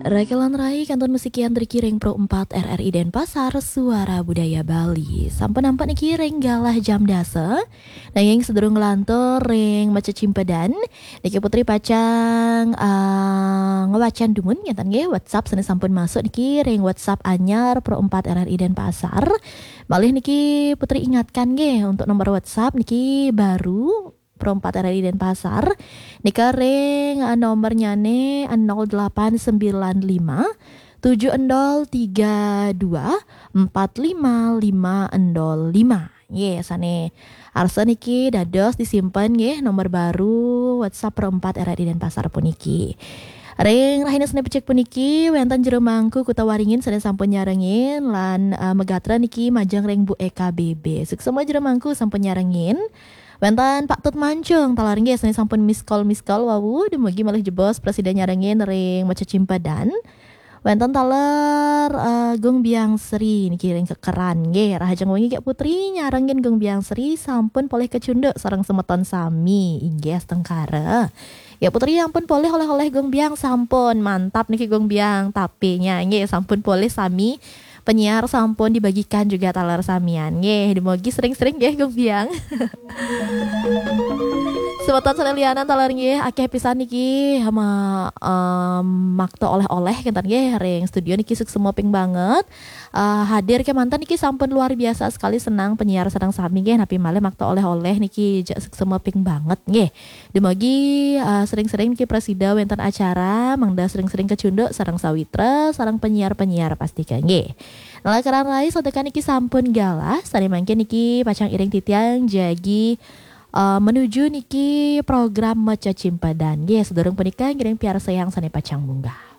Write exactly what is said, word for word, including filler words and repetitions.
Rakelan rai kantun musik yang dari kiring Pro empat R R I Denpasar, Suara Budaya Bali. Sampun nampak niki ring galah jam dasa. Nanging sedurung nglantur ring maca cimpedan, niki Putri pacang uh, ngewacan dumun ngeten nggih WhatsApp sane sampun masuk niki ring WhatsApp anyar Pro empat R R I Denpasar. Malih niki Putri ingatkan nggih untuk nomor WhatsApp niki baru Pro empat R R I Denpasar. Nika ring uh, nomornyane nol delapan sembilan lima tujuh nol tiga dua empat lima lima nol lima. Nggih, sane arsa niki dados disimpen nggih nomor baru WhatsApp Pro empat R R I Denpasar puniki. Ring rahina sane becik puniki wenten Jero Mangku Kuta Waringin sane sampun nyarengin lan uh, megatra niki majeng ring Bu Eka B B. Suksma Jero Mangku sampun nyarengin. Wenten Pak Tut Mancung taler nggih sane sampun miss call miss call wau, dumugi malih jebos prasida nyarengin ring maca cimpedan. Wenten taler uh, Gung Biang Sri niki ring kekeran nggih. Rahajeng wengi Kak Putri nyarengin Gung Biang Sri sampun polih kecunduk sareng semeton sami inggih astungkara. Ya Putri ampun polih oleh-oleh Gung Biang sampun. Mantap niki Gung Biang. Tapenya nggih sampun polih sami. Penyiar sampun dibagikan juga taler samian. Nggih, dumugi sering-sering nggih Gung Biang. Semeton sane lianan taler nggih akeh pisan niki ma, um, makta oleh-oleh kenten nggih ring studio niki suksma ping banget. Uh, hadir kemanten niki sampun luar biasa sekali senang penyiar sareng sami nggih napi malih makta oleh-oleh niki jak suksma ping banget nggih. Dumugi uh, sering-sering niki prasida wenten acara mangda sering-sering kecunduk sareng sawitra sareng penyiar-penyiar pastika nggih. Nalakaran rai sodekan niki sampun galah sane mangkin niki pacang iring titiang jagi uh, menuju niki program maca cimpedan nggih. Sedurung punika ngiring piarsayang sane pacang munggah.